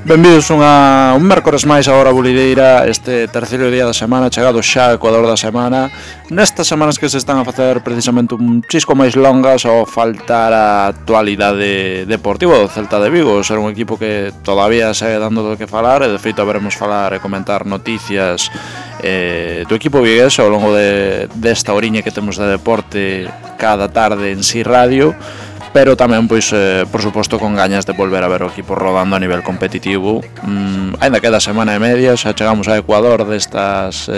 Benvidos un mércores máis a Hora Bulideira, este terceiro día da semana, chegado xa ao Ecuador da semana. Nestas semanas que se están a facer precisamente un chisco máis longas ao faltar a actualidade deportiva do Celta de Vigo, ser un equipo que todavía segue dando do que falar, e de feito haberemos falar e comentar noticias do equipo vigués ao longo desta oriña que temos de deporte cada tarde en Si Radio. Pero tamén, pois, por suposto, con gañas de volver a ver o equipo rodando a nivel competitivo. Ainda queda semana e media, xa chegamos a Ecuador destas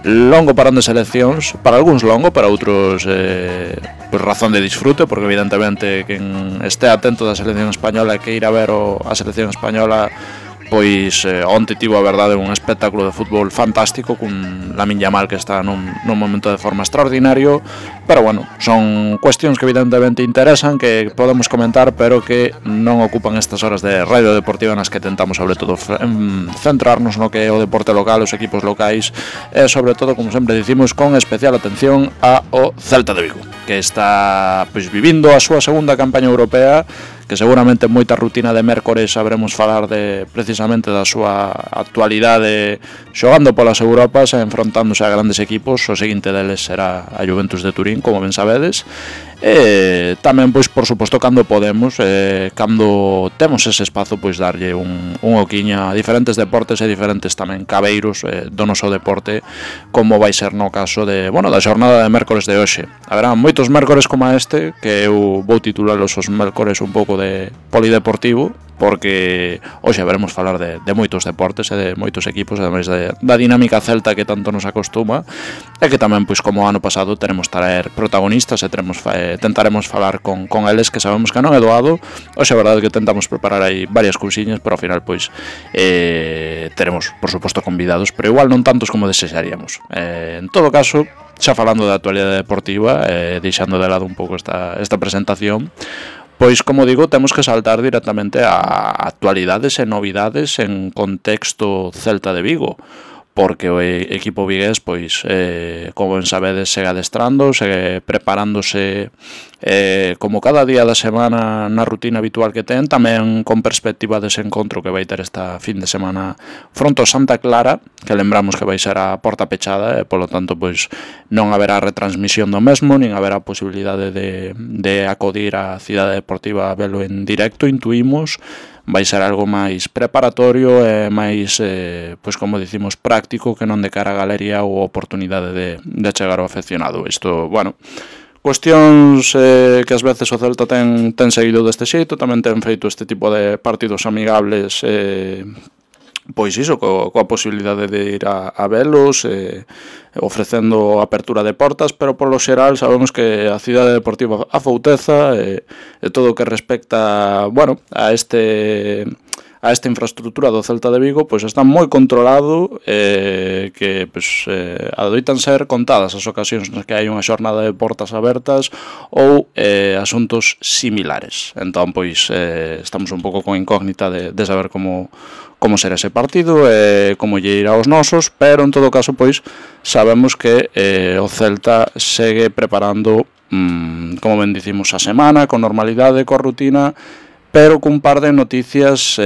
longo parón de seleccións. Para algúns longo, para outros pois razón de disfrute, porque evidentemente quen este atento da selección española e que ir a ver a selección española, pois onte tivo a verdade un espectáculo de fútbol fantástico con Lamine Yamal, que está nun momento de forma extraordinario. Pero bueno, son cuestións que evidentemente interesan, que podemos comentar, pero que non ocupan estas horas de radio deportiva nas que tentamos sobre todo centrarnos no que é o deporte local, os equipos locais, e sobre todo, como sempre dicimos, con especial atención ao Celta de Vigo, que está pois vivindo a súa segunda campaña europea, que seguramente moita rutina de mércores sabremos falar precisamente da súa actualidade xogando polas Europas e enfrontándose a grandes equipos. O seguinte deles será a Juventus de Turín, como ben sabedes. E tamén, pois, por suposto, cando podemos, cando temos ese espazo, pois darlle un oquiño a diferentes deportes e diferentes tamén cabeiros do noso deporte, como vai ser no caso da xornada de mércores de hoxe. Haberá moitos mércores como este, que eu vou titulalos os mércores un pouco de polideportivo, porque hoxe veremos falar de moitos deportes e de moitos equipos, ademais da dinámica celta que tanto nos acostuma, e que tamén, pois, como o ano pasado, teremos traer protagonistas e tentaremos falar con eles, que sabemos que non é doado. Hoxe a verdade é que tentamos preparar aí varias cousiñas, pero ao final, pois, teremos, por suposto, convidados, pero igual non tantos como desexaríamos. En todo caso, xa falando da actualidade deportiva, deixando de lado un pouco esta presentación, pois, como digo, temos que saltar directamente a actualidades e novidades en contexto Celta de Vigo, porque o equipo vigués, pois, como ben sabedes, segue adestrando, segue preparándose como cada día da semana na rutina habitual que ten, tamén con perspectiva dese encontro que vai ter esta fin de semana fronte ao Santa Clara, que lembramos que vai ser a porta pechada, e polo tanto, pois, non haberá retransmisión do mesmo, nin haberá posibilidade de acudir á cidade deportiva a velo en directo, intuímos. Vai ser algo máis preparatorio e máis, pois, como dicimos, práctico, que non de cara a galería ou oportunidade de chegar ao afeccionado. Isto, bueno, cuestións que ás veces o Celta ten seguido deste xeito, tamén ten feito este tipo de partidos amigables, pois iso, coa posibilidade de ir a velos, ofrecendo apertura de portas, pero polo xeral sabemos que a cidade deportiva afouteza, e todo o que respecta, bueno, a esta infraestructura do Celta de Vigo, pois está moi controlado, que pois adoitan ser contadas as ocasións nas que hai unha xornada de portas abertas ou asuntos similares. Entón, pois, estamos un pouco con incógnita de saber como será ese partido e como lle irá aos nosos, pero en todo caso, pois, sabemos que o Celta segue preparando, como ben dicimos, a semana con normalidade, coa rutina, pero cun par de noticias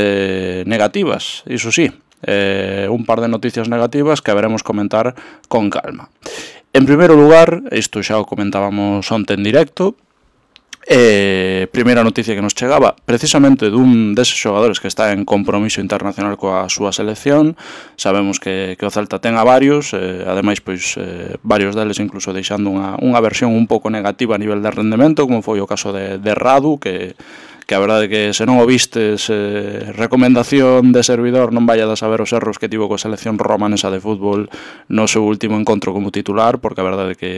negativas, iso sí, un par de noticias negativas que haberemos comentar con calma. En primeiro lugar, isto xa o comentábamos onte en directo, primeira noticia que nos chegaba precisamente dun deses xogadores que está en compromiso internacional coa súa selección. Sabemos que o Celta ten a varios, ademais, pois, varios deles incluso deixando unha versión un pouco negativa a nivel de rendemento, como foi o caso de Radu, que a verdade é que se non o vistes, recomendación de servidor, non vayades a ver os erros que tivo coa selección romanesa de fútbol no seu último encontro como titular, porque a verdade é que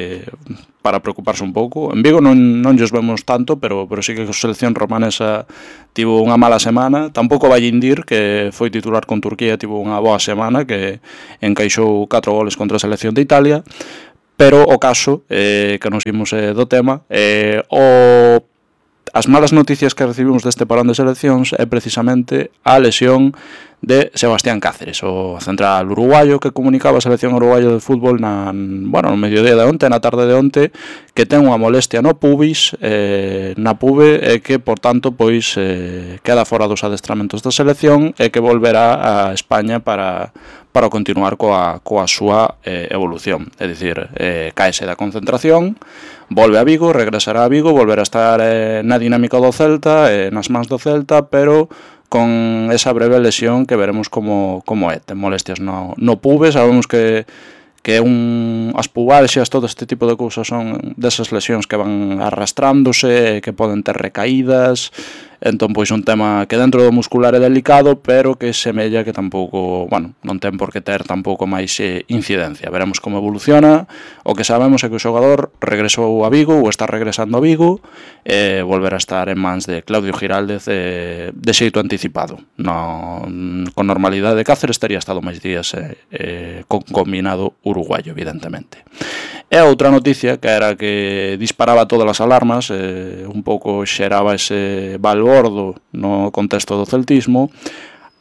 para preocuparse un pouco. En Vigo non llos vemos tanto, pero sí que a selección romanesa tivo unha mala semana. Tampouco vai indir que foi titular con Turquía, tivo unha boa semana, que encaixou 4 goles contra a selección de Italia, pero o caso que nos vimos do tema, as malas noticias que recibimos deste parón de seleccións é precisamente a lesión de Sebastián Cáceres, o central uruguayo que comunicaba a selección uruguayo de fútbol no mediodía de onte, na tarde de onte, que ten unha molestia no pubis, na pube, e que, por tanto, pois queda fora dos adestramentos da selección e que volverá a España para continuar coa súa evolución. É dicir, caese da concentración, volve a Vigo, regresará a Vigo, volverá a estar na dinámica do Celta, nas mans do Celta, pero con esa breve lesión que veremos como é. Ten molestias no pube, sabemos que as pubalxias, todo este tipo de cousas son desas lesións que van arrastrándose, que poden ter recaídas. Entón, pois, un tema que dentro do muscular é delicado, pero que semella que tampouco, non ten por que ter tampouco máis incidencia. Veremos como evoluciona. O que sabemos é que o xogador regresou a Vigo, ou está regresando a Vigo, e volverá a estar en mans de Claudio Giraldez de xeito anticipado. Con normalidade, Cáceres teria estado máis días con combinado uruguayo, evidentemente. E outra noticia, que era que disparaba todas as alarmas, un pouco xeraba ese balbordo no contexto do celtismo,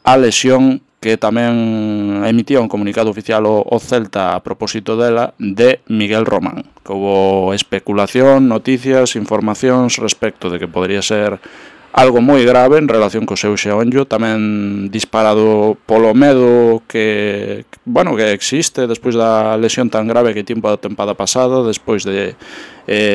a lesión que tamén emitía un comunicado oficial o Celta a propósito dela, de Miguel Román. Que houve especulación, noticias, informacións respecto de que podría ser algo moi grave en relación co seu xeonllo, tamén disparado polo medo que existe despois da lesión tan grave que tiempo a tempada pasada, despois de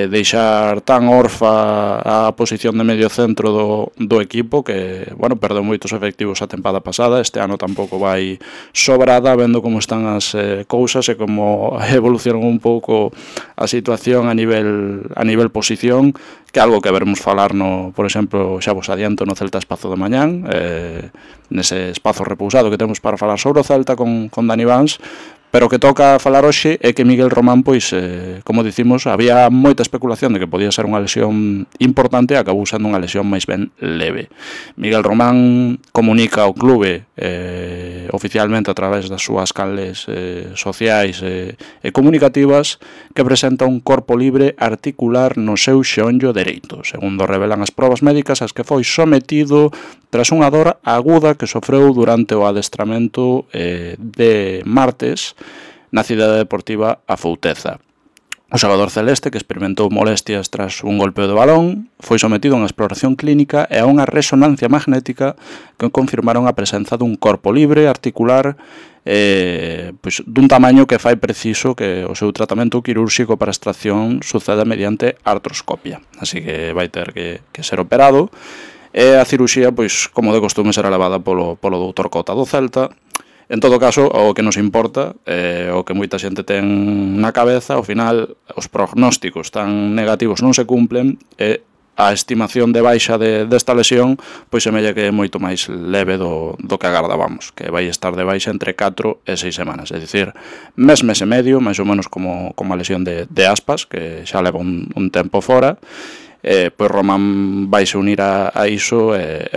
deixar tan orfa a posición de medio centro do equipo, que, perdeu moitos efectivos a tempada pasada. Este ano tampouco vai sobrada, vendo como están as cousas e como evolucionan un pouco a situación a nivel posición, que é algo que veremos falar por exemplo, xa vos adianto, no Celta Espazo de mañán, nese espazo repousado que temos para falar sobre o Celta con Dani Vans. Pero o que toca falar hoxe é que Miguel Román, pois, como dicimos, había moita especulación de que podía ser unha lesión importante e acabou sendo unha lesión máis ben leve. Miguel Román comunica ao clube oficialmente a través das súas canles sociais e comunicativas que presenta un corpo libre articular no seu xeonllo dereito, segundo revelan as probas médicas ás que foi sometido tras unha dor aguda que sofreu durante o adestramento de martes na cidade deportiva Afouteza. O xogador celeste, que experimentou molestias tras un golpeo de balón, foi sometido a unha exploración clínica e a unha resonancia magnética que confirmaron a presenza dun corpo libre articular dun tamaño que fai preciso que o seu tratamento quirúrxico para extracción suceda mediante artroscopia. Así que vai ter que ser operado. E a ciruxía, pois, como de costume, será levada polo doutor Cota do Celta. En todo caso, o que nos importa, o que moita xente ten na cabeza, ao final, os prognósticos tan negativos non se cumplen, e a estimación de baixa desta lesión, pois semella que é moito máis leve do que agardábamos, que vai estar de baixa entre 4 e 6 semanas, é dicir, mes e medio, máis ou menos como a lesión de Aspas, que xa leva un tempo fora. Pois Román vaise unir a iso e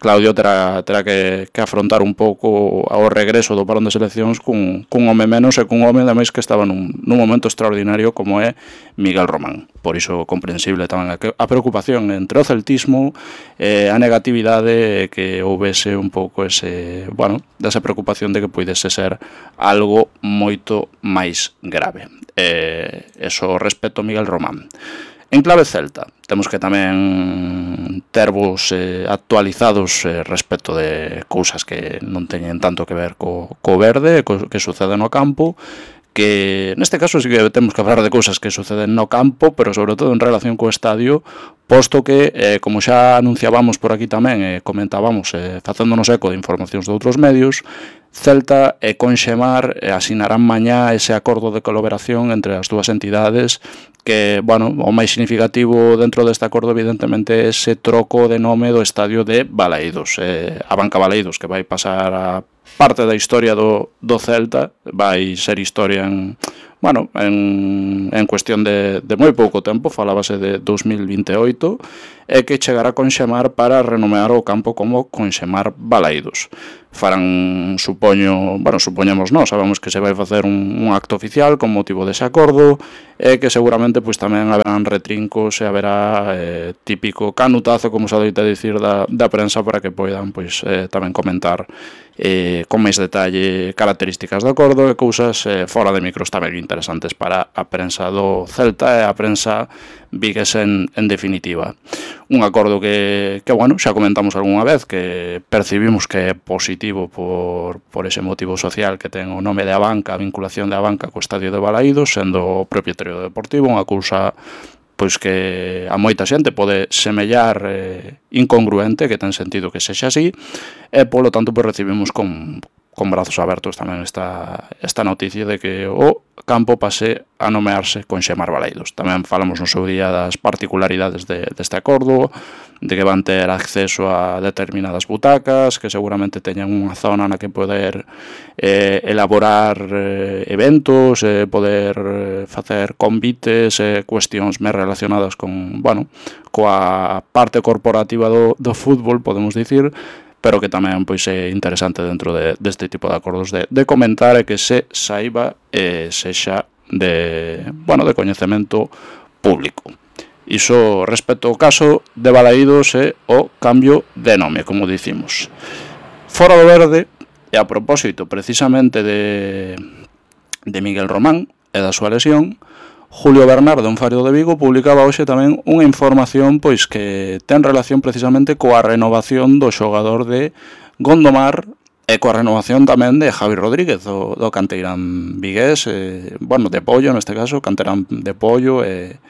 Claudio terá que afrontar un pouco ao regreso do parón de seleccións cun home menos e cun home ademais que estaba nun momento extraordinario como é Miguel Román. Por iso comprensible tamén a preocupación entre o celtismo, a negatividade, que houvese un pouco desa preocupación de que puidese ser algo moito máis grave. Eso respecto a Miguel Román. En clave Celta, temos que tamén tervos actualizados respecto de cousas que non teñen tanto que ver co verde, que sucede no campo, que neste caso sí que temos que falar de cousas que suceden no campo, pero sobre todo en relación co estadio, posto que, como xa anunciábamos por aquí tamén, comentábamos, facéndonos eco de informacións de outros medios, Celta e Conxemar asinarán mañá ese acordo de colaboración entre as dúas entidades, que, o máis significativo dentro deste acordo, evidentemente, é ese troco de nome do estadio de Balaídos. A Banca Balaídos, que vai pasar a parte da historia do Celta, vai ser historia en cuestión de moi pouco tempo, falábase de 2028, e que chegará a Conxemar para renomear o campo como Conxemar Balaídos. farán, supoñemos nós, sabemos que se vai facer un acto oficial con motivo dese acordo, e que seguramente pois tamén haberán retrincos e haberá típico canutazo, como se adoita dicir, da prensa, para que poidan pois tamén comentar con máis detalle características do acordo e cousas fora de micros tamén interesantes para a prensa do Celta e a prensa viguesa en definitiva. Un acordo que bueno, xa comentamos algunha vez, que percibimos que é positivo por ese motivo social que ten o nome de Abanca, a vinculación de Abanca co estadio de Balaídos, sendo o propietario do Deportivo, unha cousa pois que a moita xente pode semellar incongruente, que ten sentido que sexa así, e polo tanto pois recibimos con brazos abertos tamén esta noticia de que o campo pase a nomearse Conxemar Balaídos. Tamén falamos no seu día das particularidades deste acordo, de que van ter acceso a determinadas butacas, que seguramente teñan unha zona na que poder elaborar eventos, poder facer convites, cuestións máis relacionadas con, bueno, coa parte corporativa do fútbol, podemos dicir, pero que tamén pois é interesante dentro deste tipo de acordos de comentar e que se saiba e sexa de coñecemento público. Iso respecto ao caso de Balaídos e o cambio de nome, como dicimos. Fora do verde, e a propósito precisamente de Miguel Román e da súa lesión, Julio Bernardo, en Fario de Vigo, publicaba hoxe tamén unha información pois que ten relación precisamente coa renovación do xogador de Gondomar e coa renovación tamén de Javi Rodríguez, do canteirán vigués, de Pollo neste caso, canteirán de Pollo e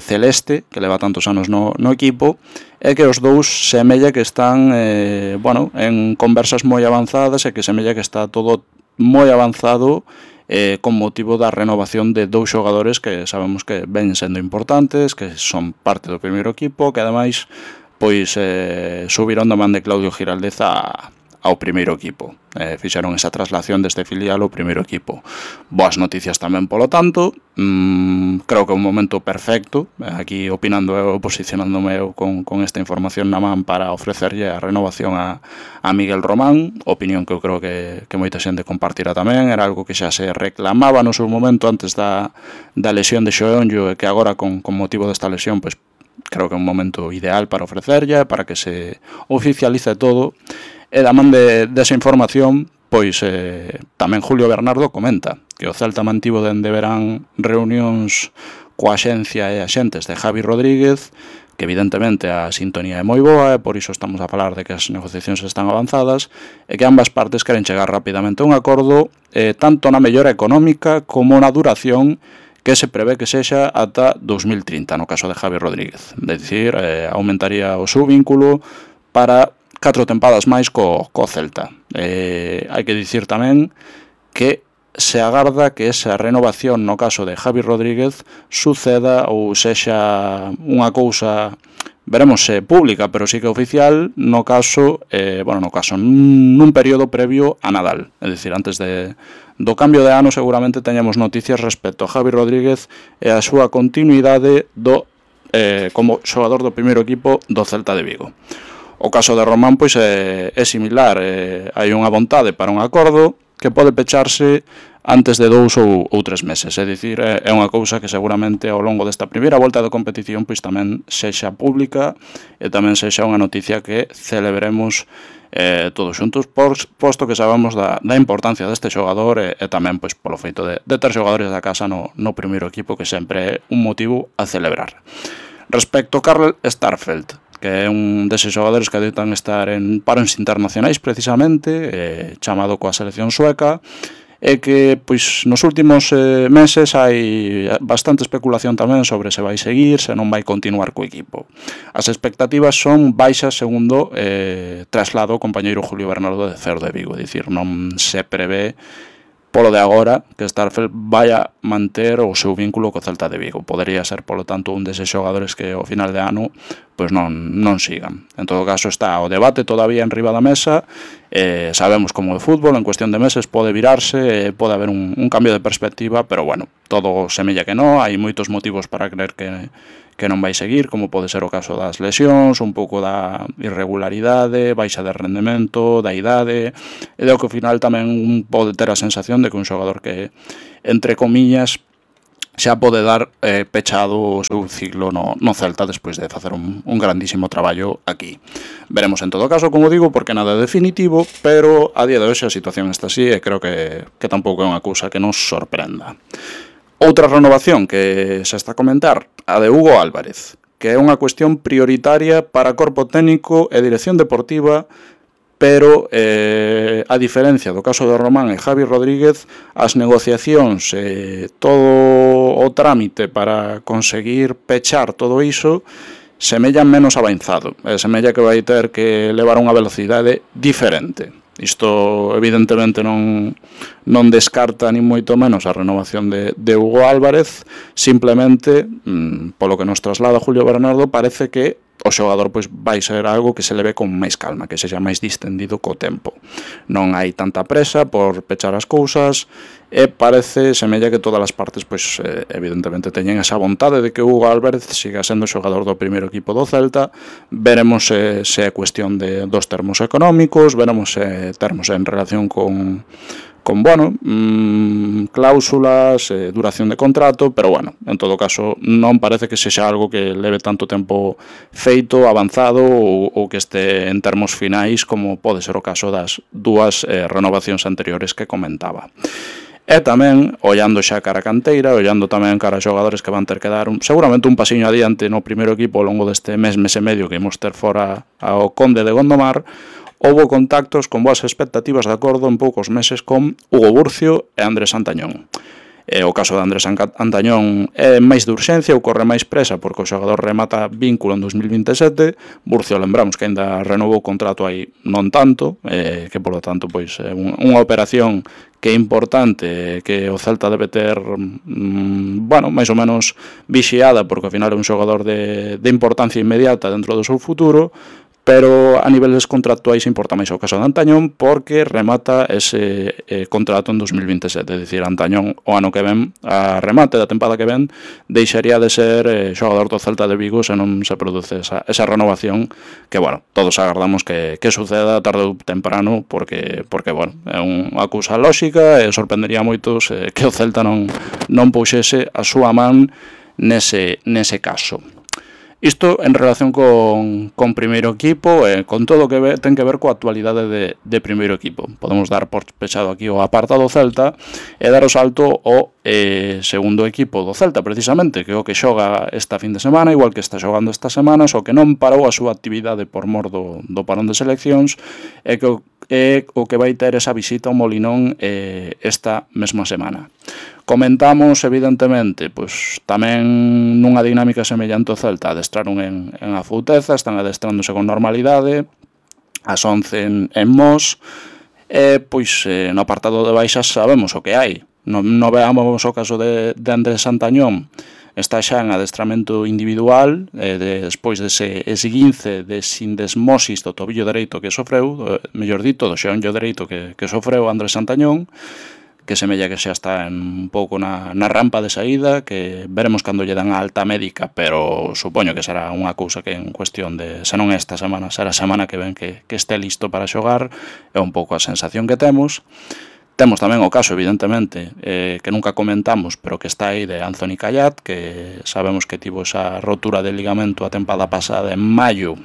Celeste, que leva tantos anos no equipo, e que os dous semella que están en conversas moi avanzadas e que semella que está todo moi avanzado con motivo da renovación de dous xogadores que sabemos que ven sendo importantes, que son parte do primeiro equipo, que ademais pois subiron da man de Claudio Giraldez ao primeiro equipo. Fixeron esa traslación deste filial ao primeiro equipo. Boas noticias tamén polo tanto. Creo que é un momento perfecto, aquí opinando eu, posicionándome eu con esta información na man para ofrecerlle a renovación a Miguel Román, opinión que eu creo que moita xente compartirá tamén. Era algo que xa se reclamaba no seu momento antes da lesión de Xoonllo, e que agora con motivo desta lesión pois creo que é un momento ideal para ofrecerlle, para que se oficialice todo. E da man desa información, pois tamén Julio Bernardo comenta que o Celta mantivo dende verán reunións coa axencia e axentes de Javi Rodríguez, que evidentemente a sintonía é moi boa e por iso estamos a falar de que as negociacións están avanzadas e que ambas partes queren chegar rapidamente a un acordo tanto na mellora económica como na duración, que se prevé que sexa ata 2030 no caso de Javi Rodríguez. É dicir, aumentaría o seu vínculo para 4 tempadas máis co Celta. Hai que dicir tamén que se agarda que esa renovación no caso de Javi Rodríguez suceda ou sexa unha cousa, veremos se pública, pero sí que oficial, no caso nun período previo a Nadal. É dicir, antes do cambio de ano seguramente teñamos noticias respecto a Javi Rodríguez e a súa continuidade como xogador do primeiro equipo do Celta de Vigo. O caso de Román pois é similar, hai unha vontade para un acordo que pode pecharse antes de 2 ou 3 meses, é dicir, é unha cousa que seguramente ao longo desta primeira volta da competición pois tamén sexa pública e tamén sexa unha noticia que celebremos todos xuntos, posto que sabemos da importancia deste xogador e tamén pois polo feito de ter xogadores da casa no primeiro equipo, que sempre é un motivo a celebrar. Respecto a Carl Starfelt, que é un deses xogadores que adoitan estar en paros internacionais precisamente, chamado coa selección sueca, e que pois nos últimos meses hai bastante especulación tamén sobre se vai seguir, se non vai continuar co equipo. As expectativas son baixas segundo traslado o compañeiro Julio Bernardo de Cerro de Vigo, é dicir, non se prevé polo de agora que Starfelt vai a manter o seu vínculo co Celta de Vigo. Podería ser, polo tanto, un deses xogadores que ao final de ano pois non sigan. En todo caso, está o debate todavía en riba da mesa Sabemos como o fútbol en cuestión de meses pode virarse, pode haber un cambio de perspectiva, pero bueno, todo semella que non, hai moitos motivos para creer que non vai seguir, como pode ser o caso das lesións, un pouco da irregularidade, baixa de rendemento, da idade, e do que ao final tamén pode ter a sensación de que un xogador que, entre comillas, xa pode dar pechado o seu ciclo no Celta despois de facer un grandísimo traballo aquí. Veremos en todo caso, como digo, porque nada é definitivo, pero a día de hoxe a situación está así e creo que tampouco é unha cousa que nos sorprenda. Outra renovación que se está a comentar, a de Hugo Álvarez, que é unha cuestión prioritaria para corpo técnico e dirección deportiva, pero a diferencia do caso de Román e Javi Rodríguez, as negociacións e todo o trámite para conseguir pechar todo iso semellan menos avanzado, semella que vai ter que levar unha velocidade diferente. Isto evidentemente non descarta ni moito menos a renovación de Hugo Álvarez, simplemente, polo que nos traslada Julio Bernardo, parece que o xogador pois vai ser algo que se leve con máis calma, que sexa máis distendido co tempo. Non hai tanta presa por pechar as cousas e parece, semella que todas as partes pois evidentemente teñen esa vontade de que Hugo Álvarez siga sendo xogador do primeiro equipo do Celta. Veremos se é cuestión dos termos económicos, veremos se termos en relación con cláusulas, duración de contrato, pero bueno, en todo caso non parece que sexa algo que leve tanto tempo feito, avanzado ou que este en termos finais como pode ser o caso das dúas renovacións anteriores que comentaba. E tamén, ollando xa cara a canteira, ollando tamén cara a xogadores que van ter que dar seguramente un pasiño adiante no primeiro equipo ao longo deste mes e medio que imos ter fora ao Conde de Gondomar, houbo contactos con boas expectativas de acordo en poucos meses con Hugo Burcio e Andrés Antañón. O caso de Andrés Antañón é máis de urxencia, ocorre máis presa porque o xogador remata vínculo en 2027. Burcio, lembramos que ainda renovou o contrato aí non tanto, que por lo tanto pois é unha operación que é importante, que o Celta debe ter máis ou menos vixiada, porque ao final é un xogador de importancia inmediata dentro do seu futuro, pero a niveles contractuais importa máis o caso de Antañón porque remata ese contrato en 2027, é dicir, Antañón o ano que ven, a remate da tempada que ven, deixaría de ser xogador do Celta de Vigo se non se produce esa renovación que, bueno, todos agardamos que suceda tarde ou temprano porque bueno, é unha cousa lóxica e sorprendería moitos que o Celta non puxese a súa man nese caso. Isto en relación con primeiro equipo e con todo o que ten que ver coa actualidade de primeiro equipo. Podemos dar por pechado aquí o apartado Celta e dar o salto ao segundo equipo do Celta, precisamente, que é o que xoga esta fin de semana, igual que está xogando esta semana, só que non parou a súa actividade por mor do parón de seleccións e que o que vai ter esa visita ao Molinón esta mesma semana. Comentamos, evidentemente, pois tamén nunha dinámica semellante ao Celta, adestraron en Afouteza, están adestrándose con normalidade, as 11 en Mos, e pois no apartado de baixas sabemos o que hai. Non veamos o caso de Andrés Antañón, está xa en adestramento individual, despois dese esguince de sindesmosis do tobillo dereito que sofreu, mellor dito, do xeonllo dereito que sofreu Andrés Antañón, que semella que xa está un pouco na rampa de saída, que veremos cando lle dan a alta médica, pero supoño que será unha cousa que en cuestión de, se non esta semana, será a semana que ven que este listo para xogar, é un pouco a sensación que temos. Temos tamén o caso, evidentemente, que nunca comentamos, pero que está aí de Anthony Callat, que sabemos que tivo esa rotura de ligamento a tempada pasada en maio,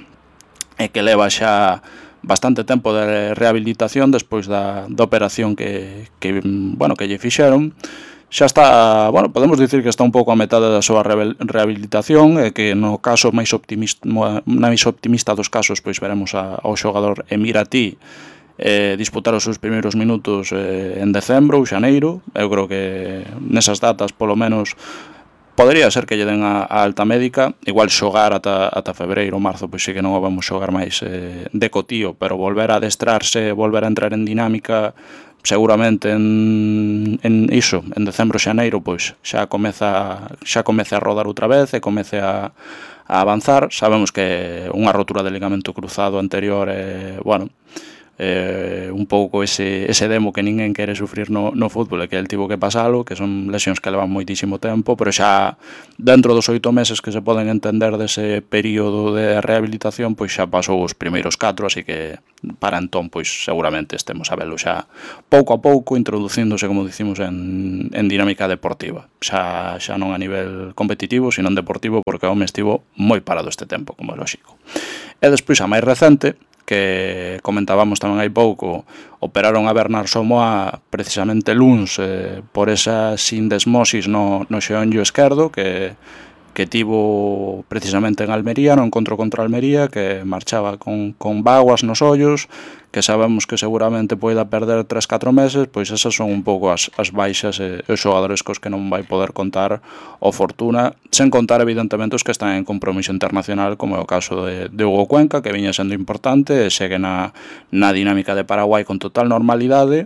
e que leva xa bastante tempo de rehabilitación despois da operación que lle fixeron. Xa está, podemos dicir que está un pouco a metade da súa rehabilitación e que no caso máis optimista dos casos pois veremos ao xogador Emirati disputar os seus primeiros minutos en decembro ou xaneiro. Eu creo que nesas datas polo menos podería ser que lle den a alta médica, igual xogar ata febreiro ou marzo, pois sí que non o vamos xogar máis de cotío, pero volver a adestrarse, volver a entrar en dinámica, seguramente en decembro, xaneiro, pois xa comece a rodar outra vez e comece a avanzar. Sabemos que unha rotura de ligamento cruzado anterior un pouco ese demo que ninguén quere sufrir no fútbol e que el tivo que pasalo, que son lesións que levan moitísimo tempo, pero xa dentro dos 8 meses que se poden entender dese período de rehabilitación, pois xa pasou os primeiros 4, así que para entón pois seguramente estemos a velo xa pouco a pouco introducíndose, como dicimos, en dinámica deportiva, xa non a nivel competitivo, sino en deportivo, porque o home estivo moi parado este tempo, como é lóxico. E despois a máis recente, que comentábamos tamén hai pouco, operaron a Bernard Somoa precisamente luns por esa sindesmosis no xeonllo esquerdo que tivo precisamente en Almería, no encontro contra Almería, que marchaba con vaguas nos ollos, que sabemos que seguramente poida perder 3-4 meses, pois esas son un pouco as baixas e os xogadores cos que non vai poder contar o Fortuna, sen contar evidentemente os que están en compromiso internacional, como é o caso de Hugo Cuenca, que viña sendo importante e segue na dinámica de Paraguai con total normalidade,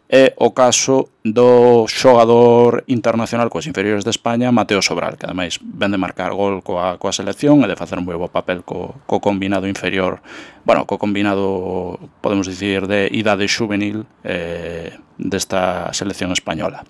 e o caso do xogador internacional coas inferiores de España, Mateo Sobral, que ademais ven de marcar gol coa selección e de facer un moi bo papel co combinado inferior, bueno, co combinado, podemos dicir, de idade juvenil desta selección española.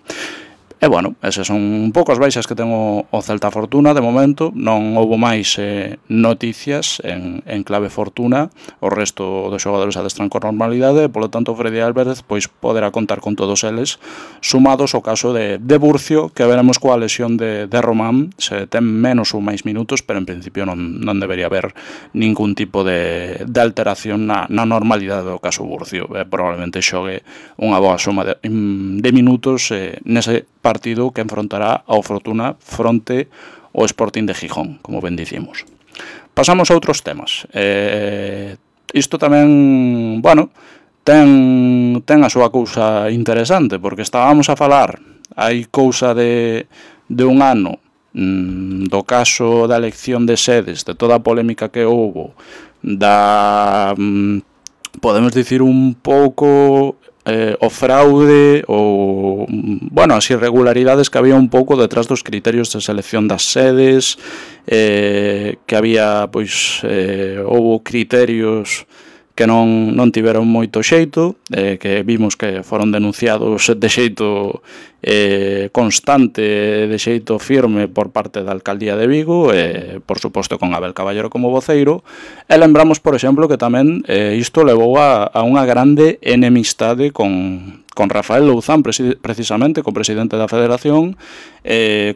E, bueno, esas son un pouco as baixas que ten o Celta Fortuna de momento, non houbo máis noticias en clave Fortuna, o resto dos xogadores adestran con normalidade, e, polo tanto, Freddy Álvarez pois poderá contar con todos eles, sumados ao caso de Burcio, que veremos coa lesión de Román, se ten menos ou máis minutos, pero en principio non debería haber ningún tipo de alteración na normalidade do caso Burcio, probablemente xogue unha boa suma de minutos nese partido que enfrontará ao Fortuna fronte ao Sporting de Gijón, como ben dicimos. Pasamos a outros temas. Isto tamén, bueno, ten a súa cousa interesante, porque estábamos a falar hai cousa de un ano do caso da elección de sedes, de toda a polémica que houbo, podemos dicir un pouco o fraude ou, bueno, as irregularidades que había un pouco detrás dos criterios de selección das sedes, que había, pois, houbo criterios que non tiveron moito xeito, que vimos que foron denunciados de xeito constante, de xeito firme por parte da Alcaldía de Vigo, por suposto con Abel Caballero como voceiro, e lembramos, por exemplo, que tamén isto levou a unha grande enemistade con Rafael Louzán, precisamente, co presidente da Federación,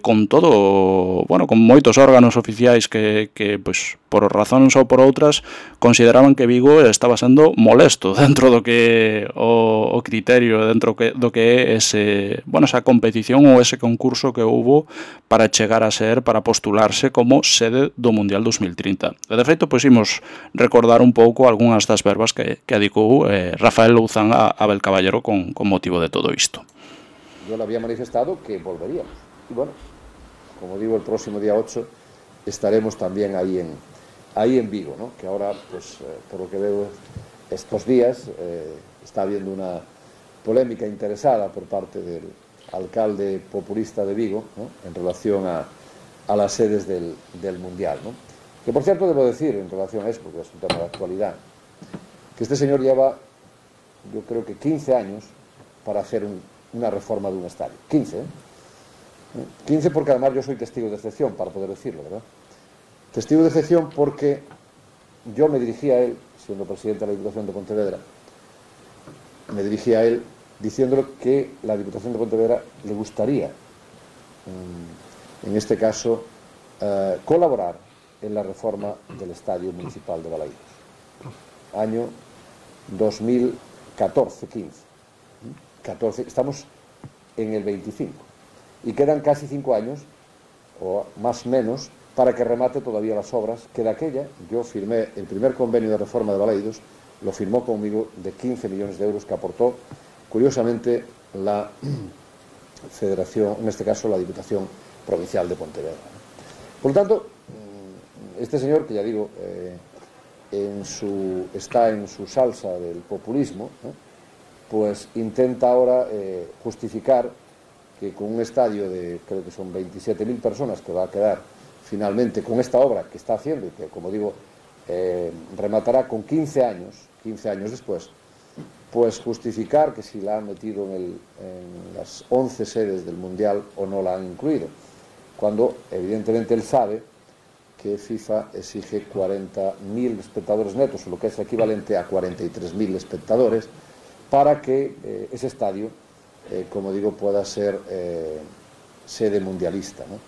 con todo, bueno, con moitos órganos oficiais que pois, por razóns ou por outras, consideraban que Vigo estaba sendo molesto dentro do que o criterio, dentro do que é ese, bueno, esa competición ou ese concurso que houbo para chegar a ser, para postularse como sede do Mundial 2030. E, de feito, pois, imos recordar un pouco algunhas das verbas que adicou Rafael Louzán a Abel Caballero con motivo de todo isto. Yo le había manifestado que volveríamos. Y bueno, como digo, el próximo día 8 estaremos también ahí en Vigo, ¿no? Que ahora, pues, por lo que veo estos días, está habiendo una polémica interesada por parte del alcalde populista de Vigo, ¿no? En relación a las sedes del Mundial, ¿no? Que, por cierto, debo decir, en relación a eso, porque es un tema de actualidad, que este señor lleva, yo creo que 15 años para hacer una reforma de un estadio. 15, ¿eh? 15 porque además yo soy testigo de excepción, para poder decirlo, ¿verdad? Testigo de excepción porque yo me dirigí a él, siendo presidente de la Diputación de Pontevedra, me dirigí a él diciéndole que la Diputación de Pontevedra le gustaría, en este caso, colaborar en la reforma del Estadio Municipal de Balaídos. Año 2014-15. 14, estamos en el 25 y quedan casi 5 años o más o menos para que remate todavía las obras que de aquella yo firmé el primer convenio de reforma de Balaídos, lo firmó conmigo, de 15 millones de euros que aportó curiosamente la Federación, en este caso la Diputación Provincial de Pontevedra. Por lo tanto, este señor, que ya digo, está en su salsa del populismo, pues intenta ahora justificar que con un estadio de, creo que son 27.000 personas que va a quedar finalmente con esta obra que está haciendo y que, como digo, rematará con 15 años después, pues justificar que si la han metido en las 11 sedes del Mundial o no la han incluido, cuando evidentemente él sabe que FIFA exige 40.000 espectadores netos, lo que es equivalente a 43.000 espectadores, para que ese estadio, como digo, pueda ser sede mundialista, ¿no?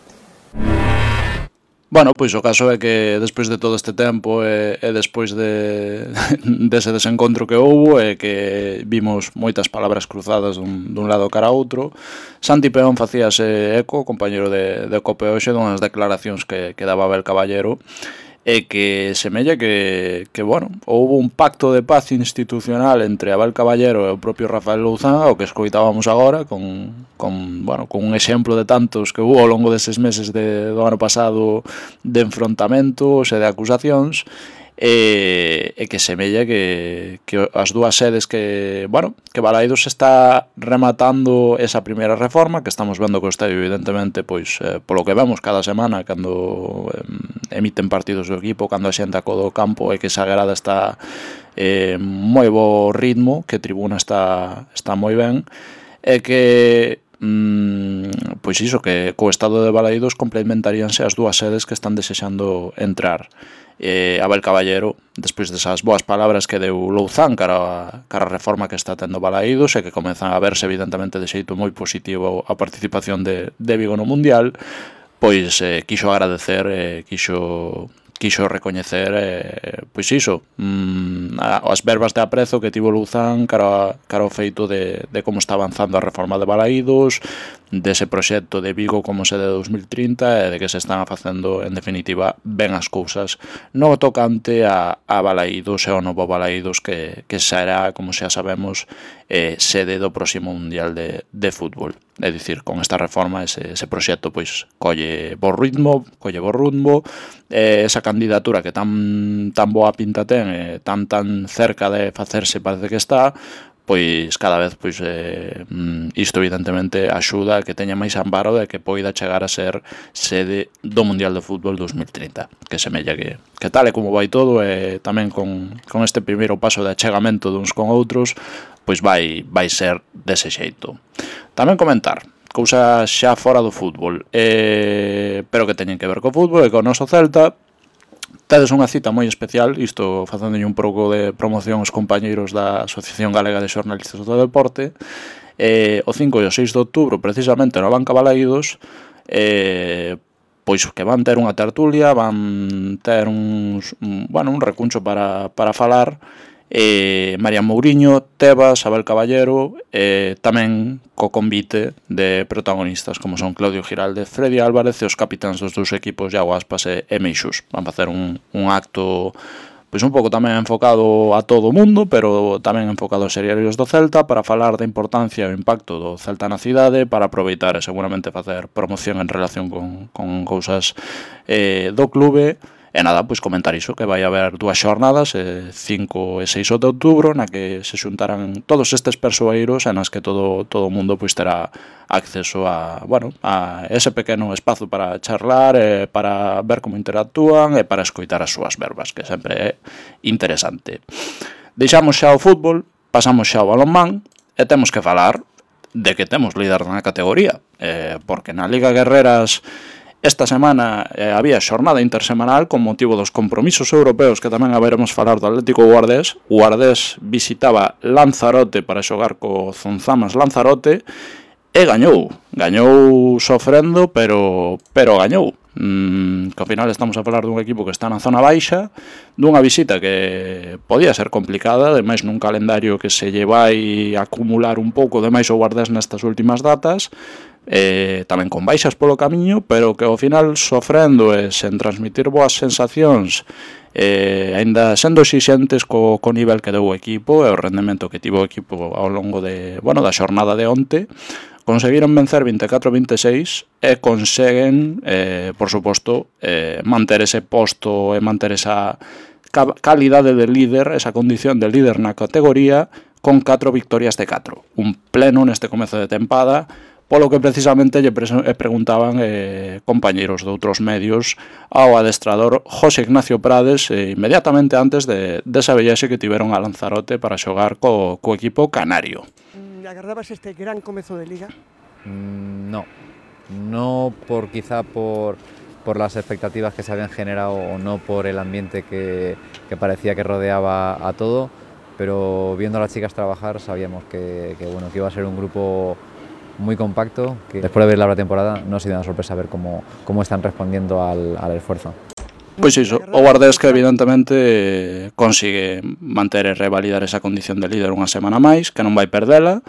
Bueno, pois o caso é que despois de todo este tempo e despois dese desencontro que houbo e que vimos moitas palabras cruzadas dun lado cara a outro, Santi Peón facíase eco, compañeiro de Cope hoxe, dunhas declaracións que daba Abel Caballero, e que semella que bueno, houve un pacto de paz institucional entre Abel Caballero e o propio Rafael Louzán, o que escoitábamos agora, con un exemplo de tantos que hubo ao longo deses meses do ano pasado de enfrontamentos e de acusacións, e que semella que as dúas sedes que Balaídos está rematando esa primeira reforma, que estamos vendo que o estadio evidentemente, pois polo que vemos cada semana cando emiten partidos do equipo, cando a xente acodo ao campo, e que esa grada está moi bo ritmo, que a tribuna está moi ben, e que pois iso, que co estado de Balaídos complementaríanse as dúas sedes que están desexando entrar. Abel Caballero, despois desas boas palabras que deu Louzán cara a reforma que está tendo Balaídos e que comezan a verse evidentemente de xeito moi positivo a participación de Vigo no Mundial, pois quixo agradecer, quixo recoñecer pois iso, as verbas de aprezo que tivo Louzán cara ao feito de como está avanzando a reforma de Balaídos, dese proxecto de Vigo como sede de 2030 e de que se están facendo en definitiva ben as cousas no tocante a Balaídos e ao novo Balaídos que será, como xa sabemos, sede do próximo Mundial de Fútbol. É dicir, con esta reforma ese proxecto pois colle bo ritmo, esa candidatura que tan boa pinta ten, tan cerca de facerse parece que está, pois cada vez pois isto evidentemente axuda a que teña máis amparo de que poida chegar a ser sede do Mundial de Fútbol 2030, que semella que tal e como vai todo, e tamén con este primeiro paso de achegamento duns con outros, pois vai ser dese xeito. Tamén comentar cousas xa fora do fútbol, pero que teñen que ver co fútbol e co noso Celta. Tedes unha cita moi especial, isto facéndolle un pouco de promoción aos compañeiros da Asociación Galega de Xornalistas do Deporte, o 5 e o 6 de outubro, precisamente na Banca Balaídos, pois que van ter unha tertulia, van ter un recuncho para falar, María Mouriño, Tebas, Abel Caballero, tamén co convite de protagonistas como son Claudio Giraldez, Freddy Álvarez e os capitáns dos dous equipos, Iago Aspas e Meixus. Van facer un acto pois un pouco tamén enfocado a todo o mundo, pero tamén enfocado aos seriarios do Celta, para falar da importancia e o impacto do Celta na cidade, para aproveitar e seguramente facer promoción en relación con cousas do clube. E nada, pois comentar iso, que vai haber dúas xornadas, 5 e 6 de outubro, na que se xuntarán todos estes persoeiros e nas que todo o mundo pois terá acceso a ese pequeno espazo para charlar, para ver como interactúan e para escoitar as súas verbas, que sempre é interesante. Deixamos xa o fútbol, pasamos xa ao balonmán e temos que falar de que temos líder na categoría, porque na Liga Guerreras esta semana había xornada intersemanal con motivo dos compromisos europeos, que tamén haberemos falar do Atlético Guardés. O Guardés visitaba Lanzarote para xogar co Zonzamas Lanzarote e gañou sofrendo, pero gañou. Que ao final estamos a falar dun equipo que está na zona baixa, dunha visita que podía ser complicada, ademais nun calendario que se lle vai acumular un pouco demais o Guardés nestas últimas datas, tamén con baixas polo camiño, pero que ao final sofrendo e sen transmitir boas sensacións, aínda sendo exixentes co nivel que deu o equipo e o rendemento que tivo o equipo ao longo da xornada de onte, conseguiron vencer 24-26 e conseguen, por suposto, manter ese posto e manter esa calidade de líder, esa condición de líder na categoría, con 4 victorias de 4. Un pleno neste comezo de tempada, polo que precisamente lle preguntaban compañeiros de outros medios ao adestrador José Ignacio Prades inmediatamente antes desa viaxe que tiveron a Lanzarote para xogar co equipo canario. ¿Agardabas este gran comezo de Liga? No quizá por las expectativas que se habían generado o no por el ambiente que parecía que rodeaba a todo, pero viendo a las chicas trabajar sabíamos que iba a ser un grupo muy compacto, que después de ver la pretemporada no ha sido una sorpresa ver cómo están respondiendo al esfuerzo. Pois iso, o Guardés que evidentemente consigue manter e revalidar esa condición de líder unha semana máis, que non vai perdela,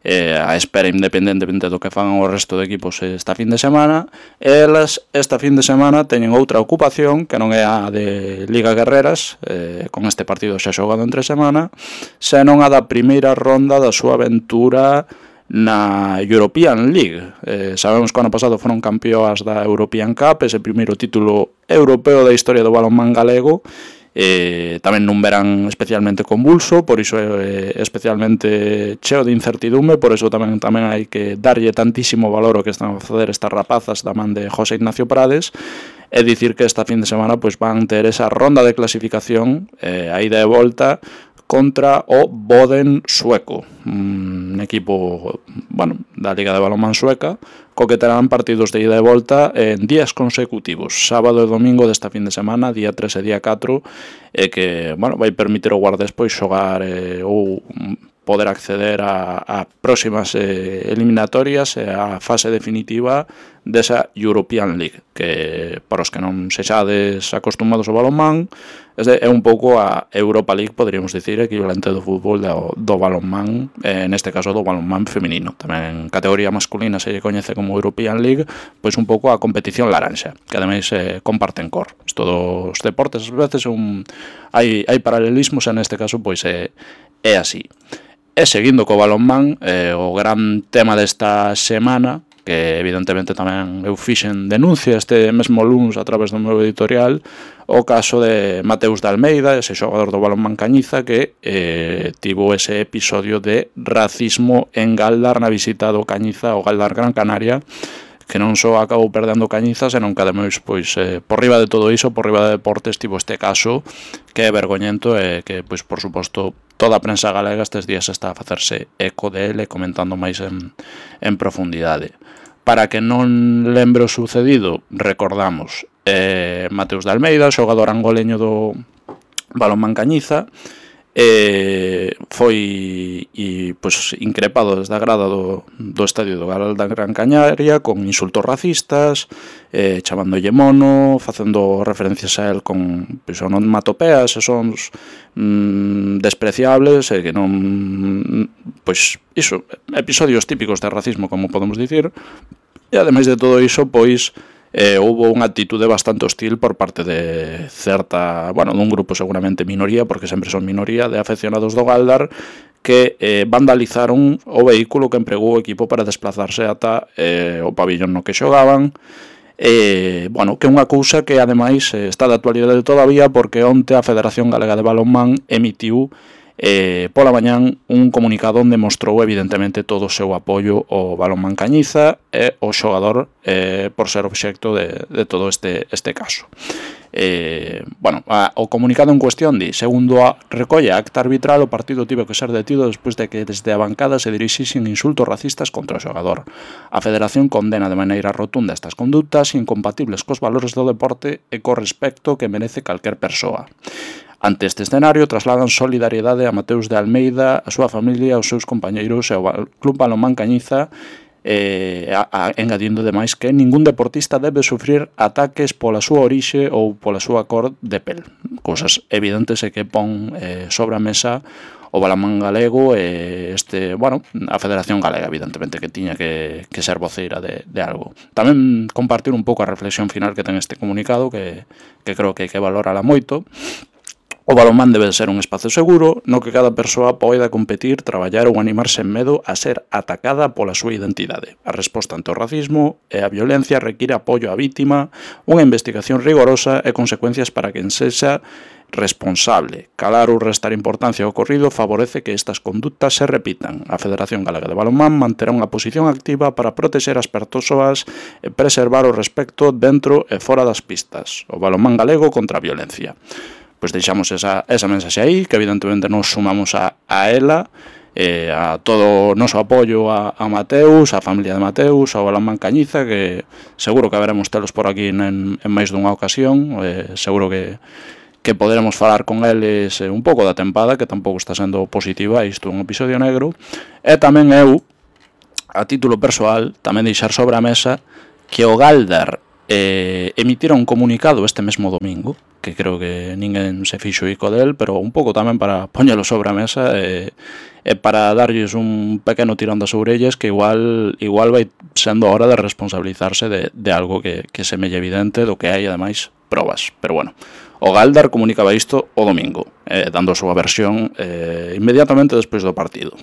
a espera independentemente do que fagan o resto de equipos esta fin de semana. Elas esta fin de semana teñen outra ocupación que non é a de Liga Guerreras, con este partido xa xogado entre semana, senón a da primeira ronda da súa aventura na European League. Sabemos que o ano pasado foron campeoas da European Cup, ese primeiro título europeo da historia do balonmán galego, tamén nun verán especialmente convulso, por iso é especialmente cheo de incertidume, por iso tamén hai que darlle tantísimo valor ao que están a facer estas rapazas da man de José Ignacio Prades, e dicir que esta fin de semana pois van ter esa ronda de clasificación, a ida e volta, contra o Boden sueco, un equipo da Liga de Balonmán sueca, co que terán partidos de ida e volta en días consecutivos, sábado e domingo desta fin de semana, día 3 e día 4, e que vai permitir ao Guardés pois xogar ou poder acceder a próximas eliminatorias e a fase definitiva desa European League, que para os que non sexades acostumados ao balonmán é un pouco a Europa League, poderíamos dicir, equivalente do fútbol do balonmán, neste caso do balonmán feminino. Tamén en categoría masculina se lle coñece como European League, pois un pouco a competición laranxa, que ademais comparten cor. Isto dos deportes ás veces hai paralelismos, e neste caso pois é así. E seguindo co balonmán, o gran tema desta semana, que evidentemente tamén eu fixen denuncia este mesmo luns a través do meu editorial, o caso de Mateus de Almeida, ese xogador do balonmán Cañiza, que tivo ese episodio de racismo en Galdar na visita do Cañiza ao Galdar Gran Canaria, que non só acabou perdendo Cañiza, senón que ademais, pois, por riba de todo iso, por riba de deportes, tivo este caso que é vergoñento e que, pois, por suposto, toda a prensa galega estes días está a facerse eco dele, comentando máis en profundidade. Para que non lembre o sucedido, recordamos Mateus de Almeida, xogador angoleño do balonmán Cañiza, foi increpado desde a grada do estadio do Galdar Gran Canaria con insultos racistas, chamándolle mono, facendo referencias a él con onomatopeas e sons despreciables, e que non, pois iso, episodios típicos de racismo, como podemos dicir. E ademais de todo iso, pois houve unha actitude bastante hostil por parte de certa, dun grupo seguramente minoría, porque sempre son minoría, de afeccionados do Galdar, que vandalizaron o vehículo que empregou o equipo para desplazarse ata o pabillón no que xogaban. Que é unha cousa que ademais está de actualidade todavía, porque onte a Federación Galega de Balonmán emitiu pola mañán un comunicado onde mostrou evidentemente todo o seu apoio ao balonmán Cañiza e ao xogador por ser obxecto de todo este caso. O comunicado en cuestión di: segundo a recolle a acta arbitral, o partido tivo que ser detido despois de que desde a bancada se dirixisen insultos racistas contra o xogador. A Federación condena de maneira rotunda estas condutas incompatibles cos valores do deporte e co respecto que merece calquer persoa. Ante este escenario, trasladan solidariedade a Mateus de Almeida, a súa familia, aos seus compañeiros e ao Club Balonmán Cañiza, engadindo demais que ningún deportista debe sufrir ataques pola súa orixe ou pola súa cor de pel. Cousas evidentes e que pon sobre a mesa o balonmán galego e a Federación Galega, evidentemente, que tiña que ser voceira de algo. Tamén compartir un pouco a reflexión final que ten este comunicado, que creo que hai que valorala moito. O balonmán debe ser un espazo seguro no que cada persoa poida competir, traballar ou animarse en medo a ser atacada pola súa identidade. A resposta ante o racismo e a violencia require apoio á vítima, unha investigación rigorosa e consecuencias para quen sexa responsable. Calar ou restar importancia ao ocorrido favorece que estas conductas se repitan. A Federación Galega de Balonmán manterá unha posición activa para protexer as persoas e preservar o respecto dentro e fora das pistas. O balonmán galego contra a violencia. Pois deixamos esa mensaxe aí, que evidentemente nos sumamos a ela, a todo o noso apoio a Mateus, a familia de Mateus, ao balonmán Cañiza, que seguro que haberemos telos por aquí en máis dunha ocasión, seguro que poderemos falar con eles un pouco da tempada, que tampouco está sendo positiva, isto é un episodio negro, e tamén eu, a título persoal, tamén deixar sobre a mesa que o Galdar emitira un comunicado este mesmo domingo, que creo que ninguén se fixo ico del, pero un pouco tamén para poñelo sobre a mesa e para darlles un pequeno tirón das orellas, que igual vai sendo a hora de responsabilizarse de algo que semelle evidente, do que hai ademais probas. Pero bueno, o Galdar comunicaba isto o domingo, dando a súa versión inmediatamente despois do partido.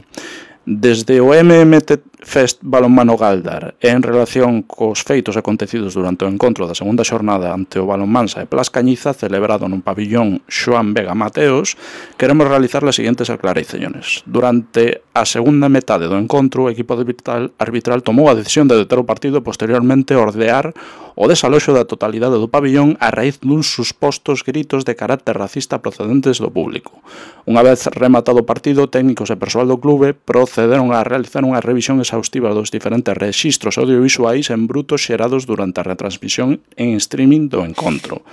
Desde o MMT Fest Balonmano Galdar e en relación cos feitos acontecidos durante o encontro da segunda xornada ante o Balonmansa e Plas Cañiza celebrado nun pabillón Xoán Vega Mateos, queremos realizar as seguintes aclaracións. Durante a segunda metade do encontro, o equipo arbitral tomou a decisión de deter o partido e posteriormente ordear o desaloxo da totalidade do pabillón a raíz duns supostos gritos de carácter racista procedentes do público. Unha vez rematado o partido, técnicos e persoal do clube procederon a realizar unha revisión exhaustiva dos diferentes rexistros audiovisuais en bruto xerados durante a retransmisión en streaming do encontro.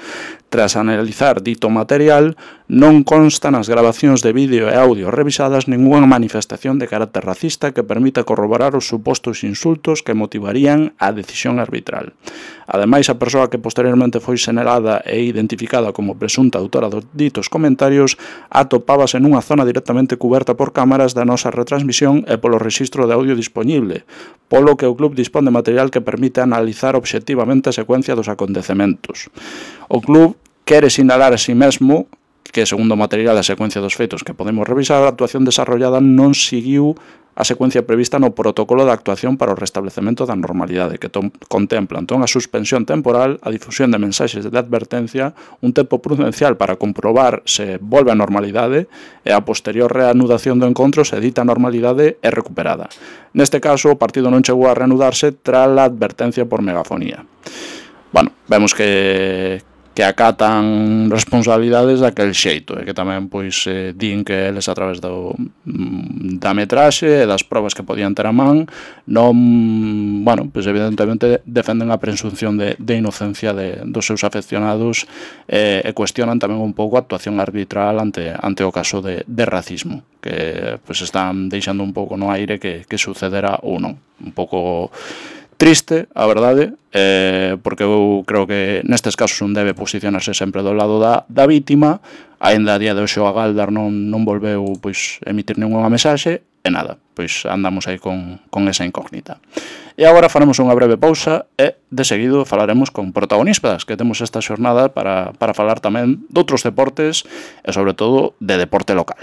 Tras analizar dito material, non constan nas grabacións de vídeo e audio revisadas ningunha manifestación de carácter racista que permita corroborar os supostos insultos que motivarían a decisión arbitral. Ademais, a persoa que posteriormente foi senalada e identificada como presunta autora dos ditos comentarios atopábase nunha zona directamente cuberta por cámaras da nosa retransmisión e polo rexistro de audio disponible, polo que o club dispón de material que permite analizar obxectivamente a secuencia dos acontecementos. O club quere sinalar a si mesmo que, segundo o material e a secuencia dos feitos que podemos revisar, a actuación desarrollada non seguiu a secuencia prevista no protocolo de actuación para o restablecemento da normalidade, que contempla entón a suspensión temporal, a difusión de mensaxes de advertencia, un tempo prudencial para comprobar se volve a normalidade e a posterior reanudación do encontro se dita normalidade é recuperada. Neste caso, o partido non chegou a reanudarse tras a advertencia por megafonía. Bueno, vemos que acatan responsabilidades daquel xeito e que tamén pois din que eles a través da metraxe e das probas que podían ter a man non, bueno, pois evidentemente defenden a presunción de inocencia dos seus afeccionados e cuestionan tamén un pouco a actuación arbitral ante o caso de racismo que pois están deixando un pouco no aire que sucederá ou non, un pouco triste, a verdade, porque eu creo que nestes casos non debe posicionarse sempre do lado da vítima, aínda a día de hoxe o Galdar non volveu pois emitir ninguna mensaxe, e nada, pois andamos aí con esa incógnita. E agora faremos unha breve pausa e de seguido falaremos con protagonistas que temos esta xornada para falar tamén doutros deportes e sobre todo de deporte local.